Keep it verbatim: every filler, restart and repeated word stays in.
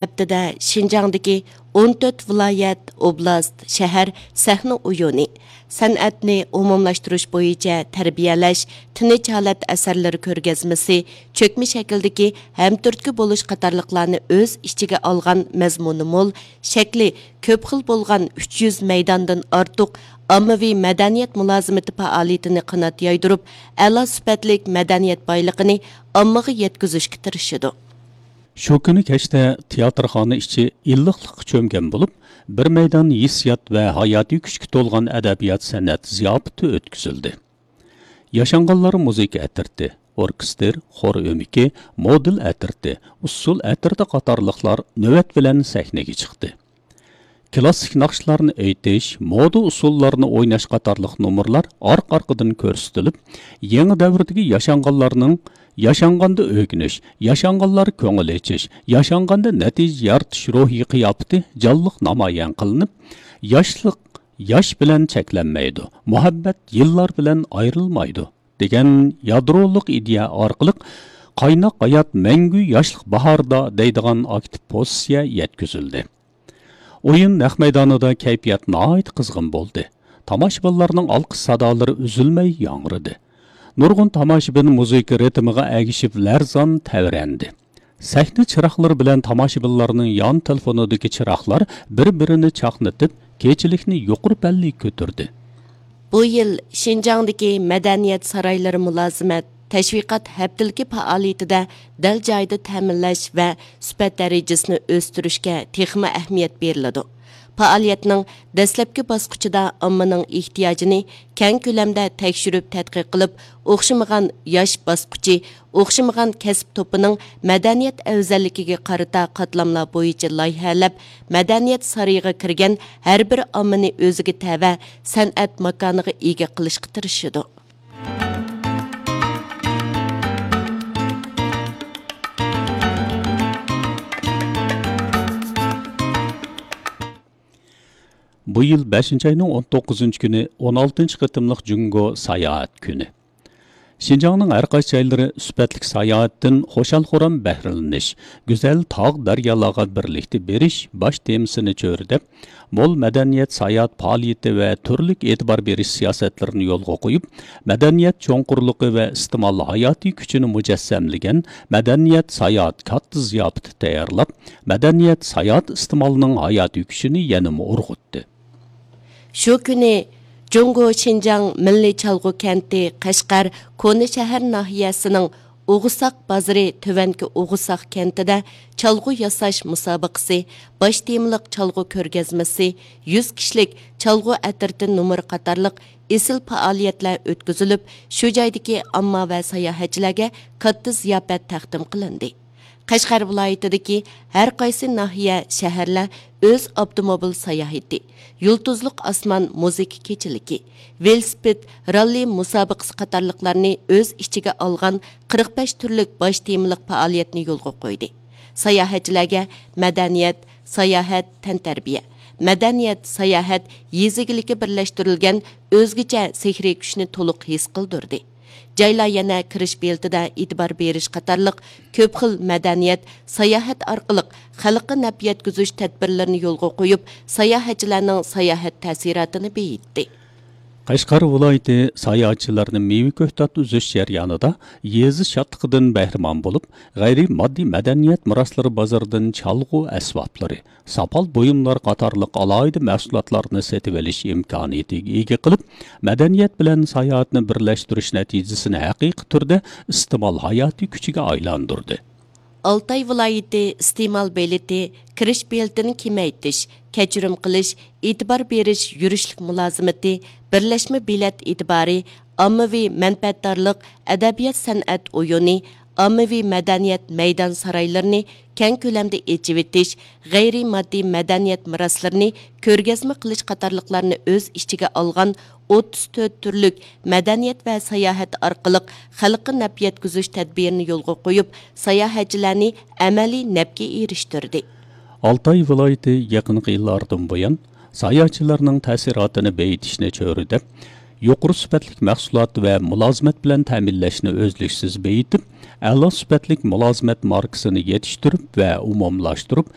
ھەپتىدە شىنجاڭدىكى ئون تۆت ۋىلايەت، ئوبلاست، شەھەر سەھنە ئويۇنى، سەنئەتنى ئومۇملاشتۇرۇش بويىچە تەربىيەلەش، تىنچ ھالەت ئەسەرلىرى كۆرگەزمىسى، چۆكمە شەكىلدىكى ھەمتۈرتكە بولۇش قاتارلىقلارنى ئۆز ئىچىگە ئالغان مەزمۇنى مول، شەكلى كۆپ خىل بولغان ئۈچ يۈز مەيداندىن ئارتۇق ئاممىۋى مەدەنىيەت مۇلازىمىتى پائالىيىتىنى قانات يايدۇرۇپ، ئەلا سۈپەتلىك مەدەنىيەت بايلىقىنى ئاممىغا يەتكۈزۈشكە تىرىشىدۇ. شۇ كۈنى كەچتە تىياتىرخانا ئىچى ئىللىقلىققا چۆمگەن بولۇپ، بىر مەيدان ھېسسىيات ۋە ھاياتىي كۈچكە تولغان ئەدەبىيات سەنئەت زىياپىتى ئۆتكۈزۈلدى. ياشانغانلار مۇزىكا ئەترىتى، ئوركېستىر، خور ئۆمىكى، مودېل ئەترىتى، ئۇسسۇل ئەترىتى قاتارلىقلار نۆۋەت بىلەن سەھنىگە چىقتى. كىلاسسىك ناخشىلارنى ئېيتىش، مودا ئۇسسۇللارنى ئويناش قاتارلىق نومۇرلار ئارقا-ئارقىدىن كۆرسىتىلىپ، يېڭى دەۋردىكى ياشانغانلارنىڭ ياشانغاندا ئۆگىنىش، ياشانغانلار كۆڭۈل ئېچىش، ياشانغاندا نەتىجە يارىتىش روھىي قىياپىتى جانلىق نامايان قىلىنىپ، ياشلىق ياش بىلەن چەكلەنمەيدۇ، مۇھەببەت يىللار بىلەن ئايرىلمايدۇ، دېگەن يادرولۇق ئىدىيە ئارقىلىق قايناق ھايات مەڭگۈ ياشلىق باھاردا دەيدىغان ئاكتىپ پوزىتسىيە يەتكۈزۈلدى. ئويۇن نەق مەيدانىدا كەيپىيات ناھايىتى قىزغىن بولدى. تاماشىبىنلارنىڭ ئالقىش سادالىرى ئۈزۈلمەي ياڭرىدى. نۇرغۇن تاماشىبىن مۇزىكا رىتىمىغا ئەگىشىپ لەرزان تەۋرەندى. سەھنە چىراغلىرى بىلەن تاماشىبىنلارنىڭ يان تېلېفونىدىكى چىراغلار بىر-بىرىنى چاقنىتىپ، كېچىلىكنى يۇقىرى پەللىگە كۆتۈردى. بۇ يىل شىنجاڭدىكى مەدەنىيەت سارايلىرى مۇلازىمەت، تەشۋىقات ھەپتىلىكى پائالىيىتىدە دەل جايىدا تەمىنلەش ۋە سۈپەت دەرىجىسىنى ئۆستۈرۈشكە تېخىمۇ ئەھمىيەت بېرىلىدۇ. پائالىيەتنىڭ دەسلەپكى باسقۇچىدا ئاممىنىڭ ئېھتىياجىنى كەڭ كۆلەمدە تەكشۈرۈپ تەتقىق قىلىپ، ئوخشىمىغان ياش باسقۇچى، ئوخشىمىغان كەسىپ توپىنىڭ مەدەنىيەت ئەۋزەللىكىگە قارىتا قاتلاملار بويىچە لايىھەلەپ، مەدەنىيەت سارىيىغا كىرگەن ھەر بىر ئاممىنى ئۆزىگە تەۋە سەنئەت ماكانىغا ئىگە قىلىشقا تىرىشىدۇ. بۇ يىل بەشىنچى ئاينىڭ ئون توققۇزىنچى كۈنى ئون ئالتىنچى قېتىملىق جۇڭگو ساياھەت كۈنى. شىنجاڭنىڭ ھەر قايسى جايلىرى سۈپەتلىك ساياھەتتىن خۇشال-خۇرام بەھرىلىنىش، گۈزەل تاغ، دەريالارغا بىرلىكتە بېرىش باش تېمىسىنى چۆرىدەپ، مول مەدەنىيەت ساياھەت پائالىيىتى ۋە تۈرلۈك ئېتىبار بېرىش سىياسەتلىرىنى يولغا قويۇپ، مەدەنىيەت چوڭقۇرلۇقى ۋە ئىستېمال ھاياتىي كۈچىنى مۇجەسسەملىگەن مەدەنىيەت ساياھەت كاتتا زىياپىتى تەييارلاپ، مەدەنىيەت ساياھەت ئىستېمالىنىڭ ھاياتىي كۈچىنى يەنىمۇ ئۇرغۇتتى. شۇ كۈنى جۇڭگو شىنجاڭ مىللىي چالغۇ كەنتى قەشقەر كونا شەھەر ناھىيەسىنىڭ ئوغۇساق بازىرى تۆۋەنكى ئوغۇساق كەنتىدە چالغۇ ياساش مۇسابىقىسى، باش تېمىلىق چالغۇ كۆرگەزمىسى، يۈز كىشىلىك چالغۇ ئەترىتى نومۇرى قاتارلىق ئېسىل پائالىيەتلەر ئۆتكۈزۈلۈپ، شۇ جايدىكى ئامما ۋە ساياھەتچىلەرگە كاتتا زىياپەت تەقدىم قىلىندى. قەشقەر ۋىلايىتىدىكى ھەر قايسى ناھىيە، شەھەرلەر ئۆز ئاپتوموبىل ساياھىتى، يۇلتۇزلۇق ئاسمان مۇزىكا كېچىلىكى، ۋېلىسىپىت راللى مۇسابىقىسى قاتارلىقلارنى ئۆز ئىچىگە ئالغان قىرىق بەش تۈرلۈك باش تېمىلىق پائالىيەتنى يولغا قويدى. ساياھەتچىلەرگە مەدەنىيەت، ساياھەت، تەنتەربىيە، مەدەنىيەت، ساياھەت، يېزا ئىگىلىكى بىرلەشتۈرۈلگەن ئۆزگىچە سېھرىي كۈچنى تولۇق ھېس قىلدۇردى. جايلار يەنە كىرىش بېلىتىدە ئېتىبار بېرىش قاتارلىق كۆپ خىل مەدەنىيەت، ساياھەت ئارقىلىق خەلققە نەپ يەتكۈزۈش تەدبىرلىرىنى يولغا قويۇپ، ساياھەتچىلەرنىڭ ساياھەت تەسىراتىنى بېيىتتى. قەشقەر ۋىلايىتى ساياھەتچىلەرنى مېۋە كۆكتات ئۈزۈش جەريانىدا يېزا شادلىقىدىن بەھرىمەن بولۇپ، غەيرىي ماددىي مەدەنىيەت مىراسلىرى بازىرىدىن چالغۇ ئەسۋابلىرى، ساپال بۇيۇملار قاتارلىق ئالاھىدە مەھسۇلاتلارنى سېتىۋېلىش ئىمكانىيىتىگە ئىگە قىلىپ، مەدەنىيەت بىلەن ساياھەتنى بىرلەشتۈرۈش نەتىجىسىنى ھەقىقىي تۈردە ئىستېمال ھاياتىي كۈچىگە ئايلاندۇردى. ئالتاي ۋىلايىتى ئىستېمال بېلىتى، كىرىش بېلىتىنى كېمەيتىش، كەچۈرۈم قىلىش، ئېتىبار بېرىش يۈرۈشلۈك مۇلازىمىتى، بىرلەشمە بېلەت ئېتىبارى، ئاممىۋى مەنپەئەتدارلىق، ئەدەبىيات-سەنئەت ئويۇنى، ئاممىۋى مەدەنىيەت مەيدان سارايلىرىنى كەڭ كۆلەمدە ئېچىۋېتىش، غەيرىي ماددىي مەدەنىيەت مىراسلىرىنى كۆرگەزمە قىلىش قاتارلىقلارنى ئۆز ئىچىگە ئالغان ئوتتۇز تۆت تۈرلۈك مەدەنىيەت ۋە ساياھەت ئارقىلىق خەلققە نەپ يەتكۈزۈش تەدبىرىنى يولغا قويۇپ، ساياھەتچىلەرنى ئەمەلىي نەپكە ئېرىشتۈردى. ئالتاي ۋىلايىتى يېقىنقى يىللاردىن بۇيان، ساياھەتچىلەرنىڭ تەسىراتىنى بېيىتىشنى چۆرىدەپ، يۇقىرى سۈپەتلىك مەھسۇلات ۋە مۇلازىمەت بىلەن تەمىنلەشنى ئۈزلۈكسىز بېيىتىپ، ئەلا سۈپەتلىك مۇلازىمەت ماركىسىنى يېتىشتۈرۈپ ۋە ئومۇملاشتۇرۇپ،